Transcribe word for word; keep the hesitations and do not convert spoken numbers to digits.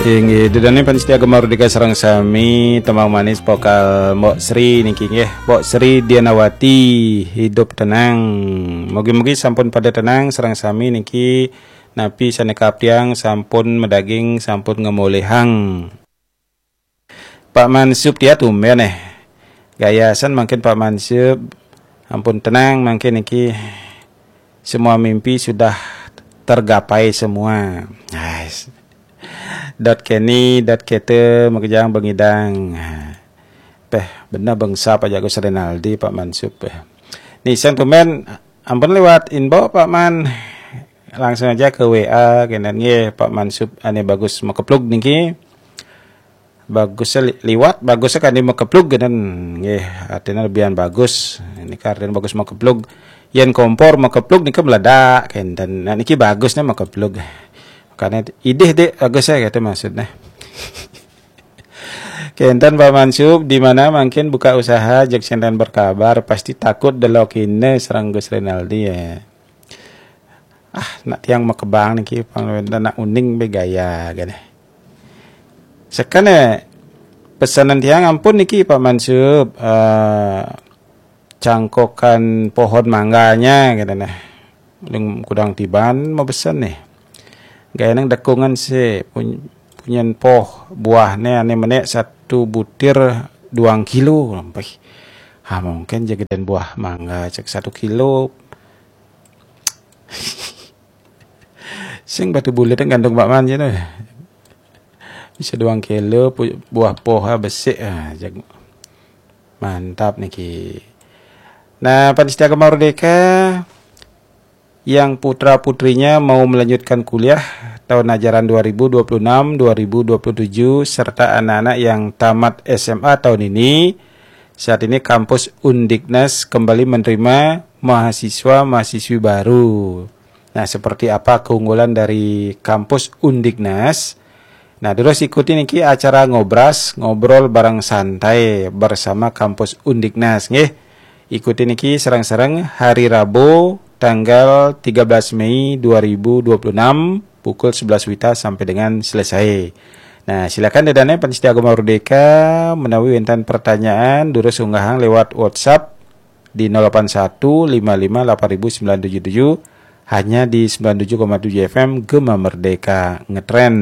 Inggih, ida dané pamiarsa Gema Merdeka sareng sami, tembang manis vokal Mbok Sri niki nggih. Mbok Sri Dianawati, Hidup Tenang. Mugi-mugi sampun pada tenang sareng sami niki, napi sané kaptiang sampun madaging, sampun ngamolihang. Pak Mansub, tia tumben eh. Gayasan mangkin Pak Mansub, ampun tenang mangkin niki, semua mimpi sudah tergapai semua. Nice. Dot Kenny, dot Kete, makejang bengidang. Peh, bener bangsa Pak Jago Rinaldi, Pak Mansub. Peh. Nih, saya tumben, ampun lewat inbox, Pak Man. Langsung aja ke W A, kenen nggih, Pak Mansub, ané bagus makeplug niki. Bagus li-, liwat, bagus kan di makeplug kenen nggih, artinya lebihan bagus. Ini artinya bagus makeplug. Yen kompor makeplug nika meledak, kenten. Nah, niki bagusnya makeplug. Karena idih dek bagus ya gitu maksudnya. Kenten Pak Mansub, di mana mangkin buka usaha, jeg senten berkabar, pasti takut delokine sareng Gus Rinaldi ya. Ah, nak tiang makebang niki, pang nak uning bé gaya gini. Sekane pesanan tiang ampun niki Pak Mansub, eh, cangkokan pohon mangganya gitu nah. Ling kudang tiban mabesen nih. Gaya nang dekungan sih pun-, punyen poh buahnya ane menek satu butir duang kilo. Ampih. Ha, mungkin jagidan buah mangga cek satu kilo. Sing batu bulit kan gantung Pak Man je tu. Bisa duang kilo pu-, buah poh ha besik ha, jag-, mantap niki. Nah, panitia Gema Merdeka yang putra-putrinya mau melanjutkan kuliah tahun ajaran dua ribu dua puluh enam dua ribu dua puluh tujuh serta anak-anak yang tamat S M A tahun ini, saat ini kampus Undiknas kembali menerima mahasiswa-mahasiswi baru. Nah, seperti apa keunggulan dari kampus Undiknas? Nah, terus ikuti niki acara Ngobras, ngobrol bareng santai bersama kampus Undiknas nggih. Ikuti niki sareng-sareng hari Rabu tanggal tiga belas Mei dua ribu dua puluh enam pukul sebelas wita sampai dengan selesai. Nah, silakan ida dané panitia Gema Merdeka menawi wénten pertanyaan, durus unggahang lewat WhatsApp di nol delapan satu lima lima delapan ribu sembilan tujuh tujuh, hanya di sembilan tujuh koma tujuh F M Gema Merdeka Ngetren.